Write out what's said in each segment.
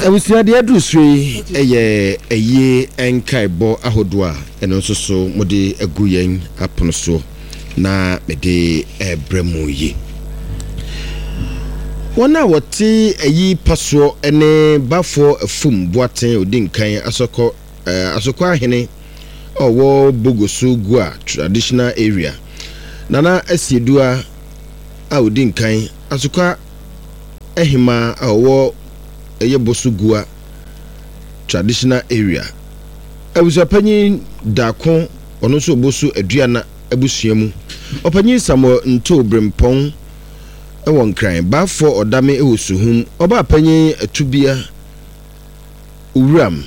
Abusua deɛ aduru so yi yɛ ayie nkaebɔ ahodoɔ a ɛno nso so mode agu yɛn apono soɔ na mede rebrɛ mo yi. Wɔn a wɔte ayi pasoɔ ne Bafoɔ Afum Boateng ɔdi nkan Asɔkɔ Asokɔ ahene a ɔwɔ Bogoso Gua Traditional Area, Nana Asiedua a ɔdi nkan Asokwa Ahemaa a ɔwɔ ɛyɛ Boso Gua Traditional Area, Abusuapanyin Darko ɔno nso Obosu Aduana abusua mu, Ɔpanyin Samuel Ntoo Brempɔn wɔ Nkran, Baafoɔ Ɔdame wɔ Suhum, Ɔbaapanyin Atubia Owuram,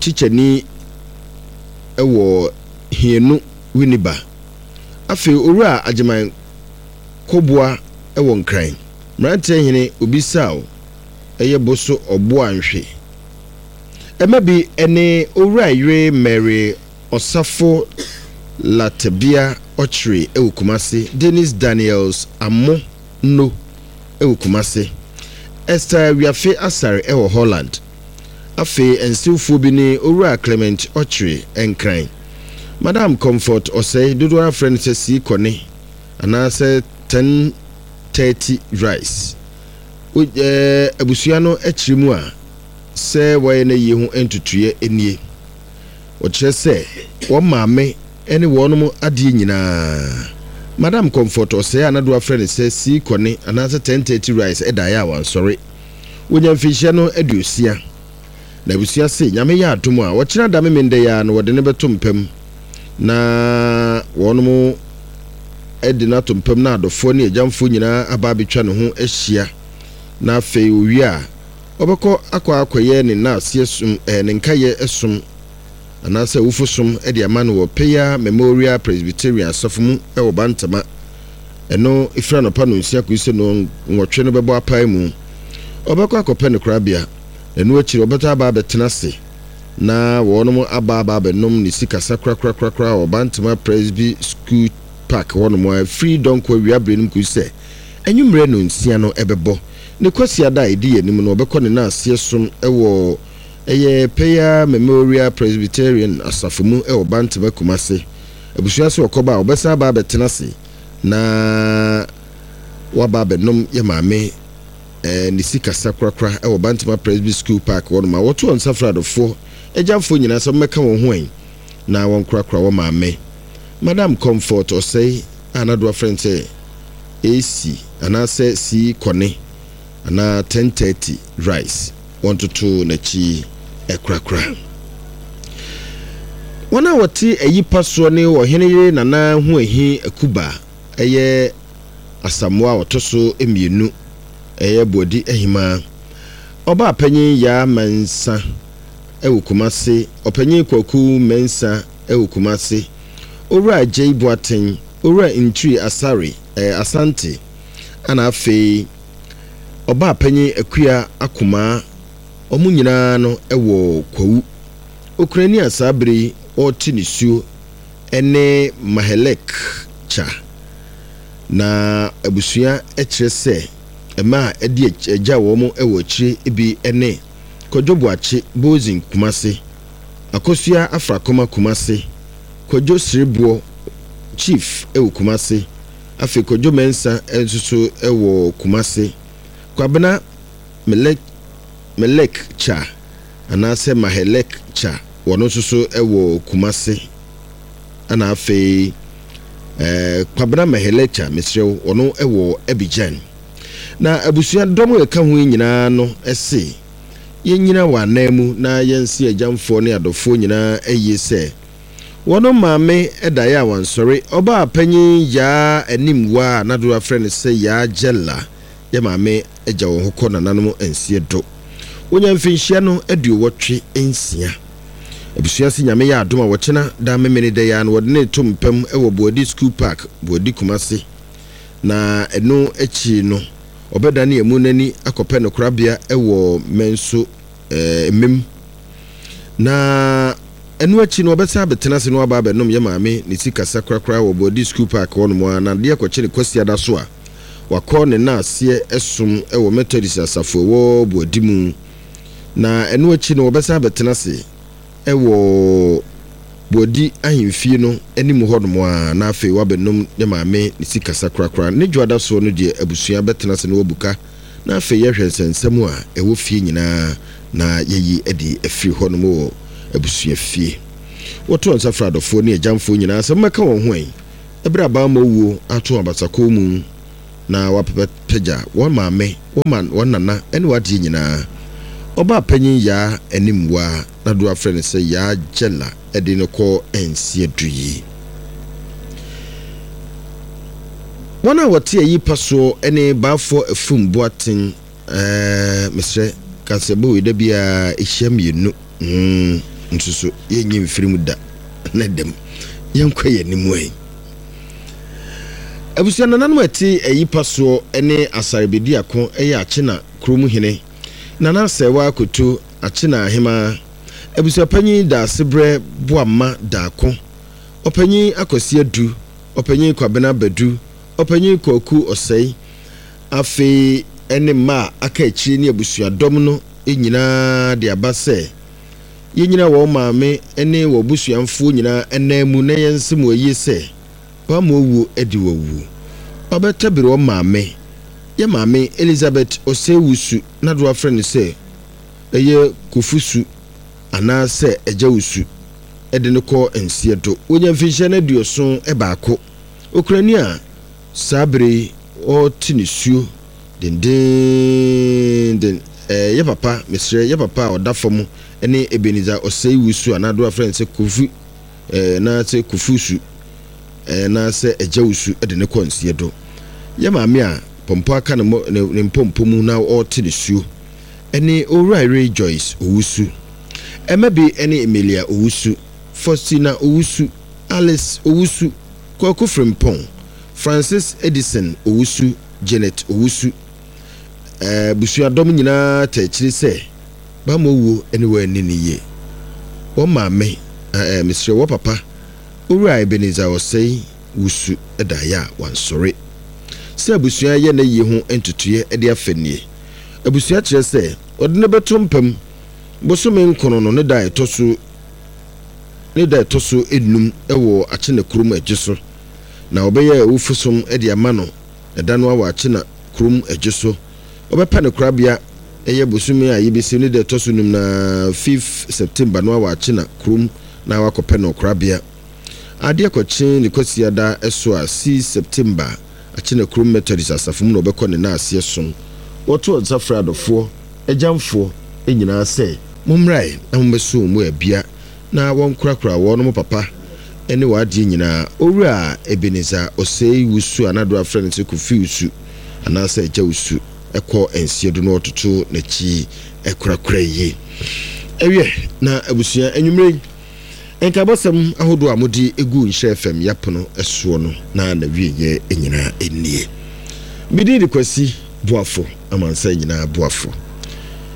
tikyani wɔ Hienu Winneba, afei Owura Agyeman Koboa wɔ Nkran, Mmeranteɛ Hene Obisaw yɛ Boso Ɔboa Nhwe. Ɛma bi ne Owura Yere Mary Ɔsafo Latebia Ɔkyere wɔ Kumasi, Dennis Daniels Amo No wɔ Kumasi, Esther Wiafe Asare wɔ Holland. Afei nsewfoɔ bi ne Owura Clement Ɔkyere, Nkran, Madam Comfort Ɔsɛe, dodoɔ ara frɛ no sɛ Sii Kɔne anaasɛ 10:30 Rice. Wo abusua no kyerɛ mu a, sɛ wɔayɛ n'ayie ho ntotoeɛ nie. Wɔkyerɛ sɛ wɔn maame ne wɔnom adeɛ nyinaa. Madam Comfort Ɔsɛe a na doa frɛ no sɛ Sii Kɔne anaasɛ 10:30 Rice daeɛ a wansɔre. Wɔnya mfinhyia no aduosia. Na abusua se Nyame yɛ adom a, ɔkyena da Memenda yi ara no wɔde no bɛto mpa mu na wɔnom de no ato mpa mu na adɔfoɔ ne agyamfoɔ nyinaa aba abɛtwa ne ho ahyia na afei owie a ɔbɛkɔ akɔ akɔyɛ ne naaseɛ som eh, ne nkayɛ som anaasɛ awufo som de ama no wɔ Peya Memorial Presbyterian Asafo mu wɔ Bantama. Ɛno firi anɔpa nonsia kɔsi sɛ nnɔnwɔtwe no bɛbɔ apae mu. Ɔbɛkɔ akɔpɛ ne korabea, na ɛno akyiri ɔbɛsan aba abɛtena ase na wɔnom aba aba abɛnom ne sikasa korakorakorakora wɔ Bantama Presby School Park hɔnom a firi dɔnkɔ awia berɛ no mu kɔsi sɛ anwummerɛ nonsia no bɛbɔ. Ne Kwasiada a ɛdi yɛn anim no ɔbɛkɔ ne naaseɛ som wɔ ɛyɛ Peya Memorial Presbyterian Asafo mu wɔ Bantama Kumase. Abusua so ɔkɔba a, ɔbɛsan aba abɛtena ase na waba abɛnom yɛ maame ne sikasa korakora wɔ Bantama Presby School Park hɔnom a wɔto wɔn nsa frɛ adɔfoɔ, agyamfoɔ nyinaa sɛ wɔmmɛka wɔn ho ɛ na wɔnkorakora wɔ maame Madam Comfort Osei a n'adoa frɛ no sɛ AC anaasɛ C Kɔne anaa 10:30 Rice. Wɔntoto n'akyi korakora. Wɔn a wɔte ayi pa soɔ ne ɔhene yere Nana Huahi Akuba yɛ Asamoah a ɔtɔ so mmienu, ɛyɛ Boadi Ahemaa. Ɔbaa panyin Yaa Mensah wɔ Kumase, Ɔpanyin Kwaku Mensah wɔ Kumase, Owura Agyei Boateng, Owura Ntiri Asare, ɛyɛ Asante, ɛna afei Ɔbaa panyin Akua Akomaa, wɔn nyinaa no wɔ Kwawu. Okunani a saa bere yi ɔrete nisuo ne Mahelek Cha. Na abusua kyerɛ sɛ mma a ɛde agya wɔn wɔ akyire bi ne Kwadwo Boakye Boazin Kumase, Akosua Afrakoma Kumase, Kwadwo Sereboɔ Chief wɔ Kumase, Afei Kwadwo Mensah nso so wɔ Kumase. Kwabena Melek Melek Cha anaasɛ Mahelek Cha wɔno nso so wɔ Kumase. Ɛna afei eh, Kwabena Mahelek Cha mesrɛ wo wɔno wɔ Abidjan. Na abusua dɔm a ɛka ho yi nyinaa no se yɛnyina wɔ anan mu na yɛnse agyamfoɔ ne adɔfoɔ nyinaa ayie sɛ Wɔn maame daeɛ a wansɔre. Ɔbaa panyin Yaa Animwa a n'adoa frɛ no sɛ Yaa Gyella yɛ maame agya wɔn hɔ kɔ nananom nseɛ do. Wɔnya mfinhyia no 86. Abusua se Nyame yɛ adom a wɔkyena da Memeneda yi ara no wɔde no reto mpam wɔ Boadi School Park, Boadi Kumasi. Na ɛno akyiri no ɔbɛdane amu no ani akɔpɛ no korabea wɔ Manso Mmem. Na ɛno akyi no, ɔbɛsan abɛtena ase na waba abɛnom yɛ maame ne sikasa korakora wɔ Boadi School Park hɔnom ara, na adeɛ kɔkye no Kwasiada so a, wakɔ ne naaseɛ som wɔ Methodist asafo ɛwɔ Boadi mu. Na ɛno akyi no wɔbɛsan abɛtena ase wɔ Boadi ahemfie no anim hɔnom ara na afei wɔabɛnom ne maame ne sikasa korakora. Ne dwoada soɔ no deɛ abusua bɛtena ase na wɔabu ka na afei yɛahwɛ nsɛnsɛm a ɛwɔ fie nyinaa na yɛayi adi afiri hɔnom wɔ abusuafie. Wɔto nsa frɛ adɔfoɔ ne agyamfoɔ nyinaa sɛ mommɛka wɔn ho ɛ berɛ a bammɔ wuo ato abasakɔn mu na wɔapɛpɛgya wɔn maame, wɔn ma, wɔn nana ne wɔn adeɛ nyinaa. Ɔbaa panyin Yaa Animwa na dodoɔ afrɛ no sɛ Yaa Gyɛla de no kɔ nseɛ du yi. Wɔn a wɔte ayi pa soɔ ne Baafoɔ Afum Boateng, ɛɛ, mesrɛ, kaseɛbɔ wei da biara ɛhyia mmienu, hmm, nso so yɛnyi mfiri mu da, ne dɛm. Yɛnkɔ yɛn anim ɛ. Abusua nananom a ɛte ayi pa soɔ ne Asare Bediako yɛ Akyena kurom hene, Nana Asɛewa Akoto, Akyena ahemaa, Abusuapanyin Daasebrɛ Boamma Daako, Ɔpanyin Akwasi Adu, Ɔpanyin Kwabena Badu, Ɔpanyin Kwaku Ɔsɛe, afei ne mma a aka akyire ne abusuadɔm no nyinaa de aba sɛ yɛnyina wɔn maame ne wɔn abusuamfoɔ nyinaa ananmu na yɛnse mo ayie sɛ wɔama owuo adi wɔn awuo. Wabɛtabiri wɔn maame, yɛ maame Elizabeth Osei Wusu na do afrɛ no sɛ ɛyɛ Kofi Su anaasɛ Agya Wusu de no kɔ nseɛ do. Wanya mfinhyia no 71. Okurani a saa bere yi ɔrete nisuo dendeenden. Ɛɛ, yɛ papa, mesrɛ, yɛ papa a ɔda fam ne Ebenezer Osei Wusu anaa do afrɛ no sɛ Kofi ɛɛ, anaasɛ Kofi Su ɛɛ, anaasɛ Agya Wusu de no kɔ nseɛ do. Yɛ maame a pɔmpɔ aka ne ne mpɔmpɔ mu na ɔrete nisuo ne Owura Ray Joyce Owusu. Ɛma bi ne Emilia Owusu, Faustina Owusu, Alice Owusu, Kwaku Frimpong, Francis Edison Owusu, Janet Owusu. Abusuadɔm nyinaa taa akyiri sɛ bammɔ wuo ne wɔn anni no yie. Wɔn maame, ɛɛ mesrɛ wɔ papa, Owura Ebenezer Osei Wusu daeɛ a wansɔre. Sɛ abusua yɛ n'ayie ho ntotoeɛ de afa nie. Abusua kyerɛ sɛ wɔde no bɛto mpa mu bosome nkono no ne da a ɛtɔ so ne da a ɛtɔ so nnum wɔ Akyena kurom Adwo so. Na wɔbɛyɛ awufosom de ama no ɛda no ara wɔ Akyena kurom Adwo so. Wɔbɛpa no korabea ɛyɛ bosome a yɛbɛsi ne da ɛtɔ so num no ara, fifth September no ara wɔ Akyena kurom na wakɔpɛ no korabea. Adeɛ kɔkye ne Kwasiada so a, 6 September, Akyena Kurom Methodist Asafo mu na wɔbɛkɔ ne naaseɛ som. Wɔto nsa frɛ adɔfoɔ, agyamfoɔ, nyinaa sɛ, Mommrae na mommɛso wɔn mu abia na wɔnkorakora wɔnom papa ne wɔn adeɛ nyinaa. Owura Ebenezer Osei Wusu a n'adɔa frɛ no sɛ Kofi Wusu anaasɛ Agya Wusu kɔ nseɛ do na ɔtoto n'akyi korakora yie. Ɛwiɛ na abusua anwummerɛ yi. Nkaebɔsɛm ahodoɔ a mode gu Nhyira FM yɛapono soɔ no na n'awieɛ nyinaa nie. Me din de Kwasi Boafo, amansan nyinaa boafo.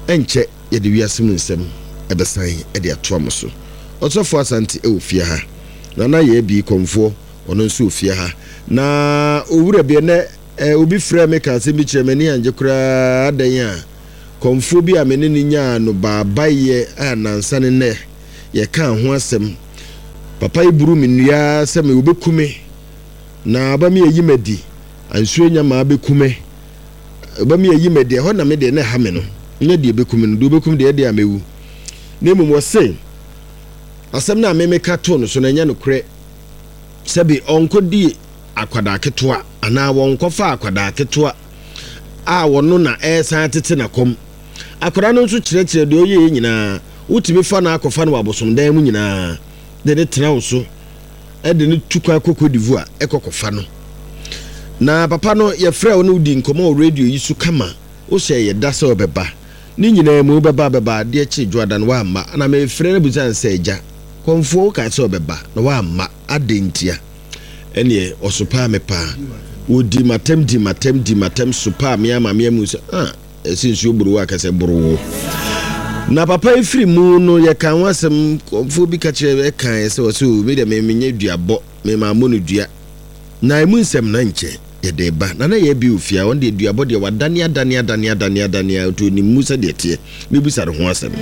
Ɛnkyɛ yɛde wiase mu nsɛm bɛsan de atoa mo so. Ɔsɔfo Asante wɔ fie ha. Nana Yaabi Kɔmfoɔ, ɔno nso wɔ fie ha. Na owura bi, ɛnnɛ obi frɛɛ me kaa asɛm bi kyerɛɛ me, m'ani angye koraa, adɛn a kɔmfoɔ bi a me ne no nyaa no baabaeɛ a nnansa ne nnɛ yɛkaa ho asɛm. Papa yi buru me nnua ara sɛ me wɔbɛku me, na ɔba me ayi m'adi, ansuo anya maa bɛku me. Ɔba me ayi m'adi, ɛhɔ na me deɛ na ɛha me no, nyɛ deɛ ɛbɛku me no, deɛ ɔbɛku me deɛ ɛdeɛ a mɛwu. Na mmom wɔse asɛm no a me meka too no so no ɛnyɛ nokorɛ, sɛbe ɔnkɔdi akwadaa ketewa anaa wɔnkɔfa akwadaa ketewa a wɔno na ɛresan atete n'akɔm. Akwadaa no nso kyerɛkyerɛ deɛ ɔyɛeɛ nyinaa. Wotumi fa no akɔfa no wɔ abosomdan mu nyinaa de no tena wo so de no tu kwan kɔ Cote d'Ivoire kɔ kɔfa no. Na papa no yɛfrɛ wo ne wodi nkɔmmɔ wɔ radio yi so kama. Wohyɛɛ yɛ da sɛ wobɛba. Ne nyinaa mu wobɛba bɛba adeɛ kyee dwoada no woamma. Na mefrɛ no bisa no sɛ agya, kɔmfoɔ wokaa sɛ wobɛba na woamma adɛn ntia? Ɛneɛ ɔsopaa me paa. Wɔdii m'atɛm dii m'atɛm dii m'atɛm sopaa me ama me amu sɛ ah. Ɛsɛ nsuo boro wo a kɛsɛ boro wo. Na papa yi firi mu no yɛka ho asɛm kɔmfoɔ bi ka kyerɛ ɛkaeɛ sɛ ɔsɛ o me deɛ me menyɛ duabɔ me maa mmɔ no dua. Na emu nsɛm na nkyɛ. Yɛde ba na na yɛ bi ofie a ɔno deɛ duabɔ deɛ wadane adane adane adane adane a ɔtɔ onim mu sɛdeɛ teɛ. Mebisa ne ho asɛm.